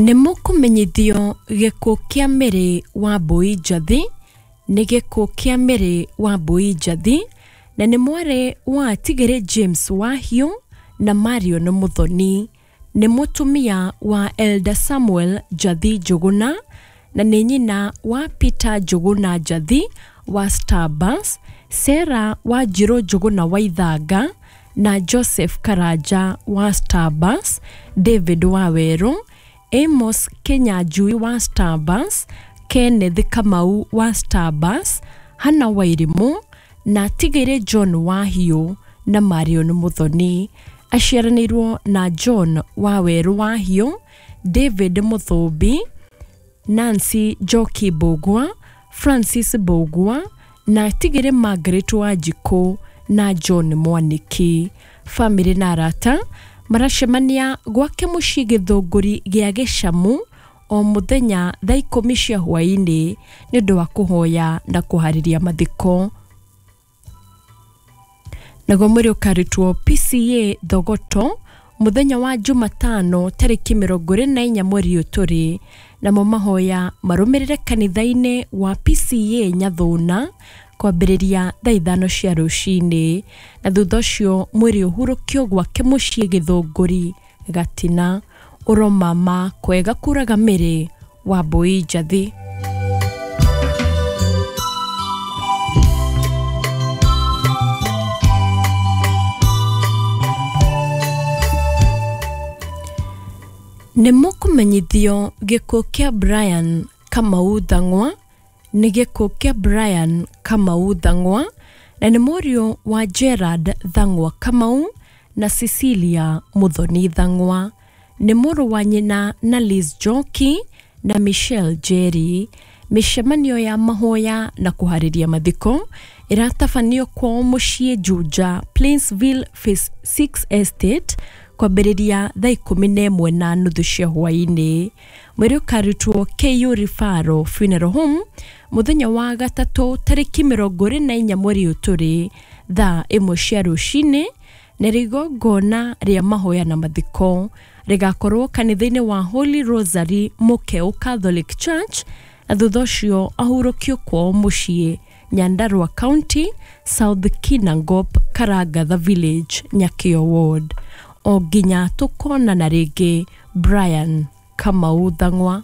Nĩ mũkũmenyithio gĩkuũ kĩa Mary Wambui Njathi nĩ gĩkuũ kĩa Mary Wambui Njathi na nĩ mwarĩ wa Atigĩrĩ James Wahiũ na Marion Muthoni. Nĩ mũtumia wa Elder Samuel Njathi Njũgũna na nĩ nyina wa Peter Njũgũna Njathi wa Starbus, Sarah Wanjirũ Njũgũna Waithanga na Joseph Karanja wa Starbus, David Wawerũ, Amos Kinyanjui wa Starbus, Kenneth Kamau wa Starbus, Hannah Wairimũ na Tigĩrĩ John Wahiũ na Marion Muthoni. Aciaranĩirwo na John Wawerũ Wahiũ, David Mũthũmbi, Nancy Njoki Mbũgua, Francis Mbũgua na Tigĩrĩ Margaret Wanjikũ na John Mwaniki. Bamĩrĩ na arata maracemania gwake mũciĩ Gĩthũngũri gĩa Gĩcamu o mũthenya thaa 10 cia hwaĩ-inĩ nĩ ũndũ wa kũhoya na kũharĩria mathiko. Naguo mwĩrĩ ũkarutwo PCA Thogoto mũthenya wa Jumatano tarĩki 24 mweri ũyũ tũrĩ, namo mahoya marũmĩrĩre kanitha-inĩ wa PCA Nyathũna kwambĩrĩria thaa 5 cia rũcinĩ, na thutha ũcio mwĩrĩ ũhurũkio gwake mũciĩ Gĩthũngũri Gatina. Ũromama kwega kũraga Mary Wambui Njathi. Nĩ mũkũmenyithio gĩkuũ kĩa Brian Kamau Thang'wa nĩ gĩkuũ kĩa Brian Kamau Thang'wa na nĩ mũriũ wa Gerard Thang'wa Kamau na Cecilia Muthoni Thang'wa. Nĩ mũrũ wa nyina na Liz Njoki na Michelle Njeri. Mĩcemanio ya mahoya na kũharĩria mathiko ĩratabanio kwao mũciĩ Juja, Plainsville Phase 6 Estate kwambĩrĩria thaa 11:30 cia hwaĩ-inĩ. Mwĩrĩ ũkarutwo KU Referral Funeral Home mũthenya wa gatatũ tarĩki 24 mweri ũyũ tũrĩ thaa 1 cia rũcinĩ, na igongona rĩa mahoya na mathiko rĩgakorwo kanitha-inĩ wa Holy Rosary Mũkeũ Catholic Church, na thutha ũcio ahurũkio kwao mũciĩ Nyandarua County, South Kinangop, Karangatha Village, Nyakĩo Ward. O nginya tũkonana rĩngĩ, Brian Kamau Thang'wa.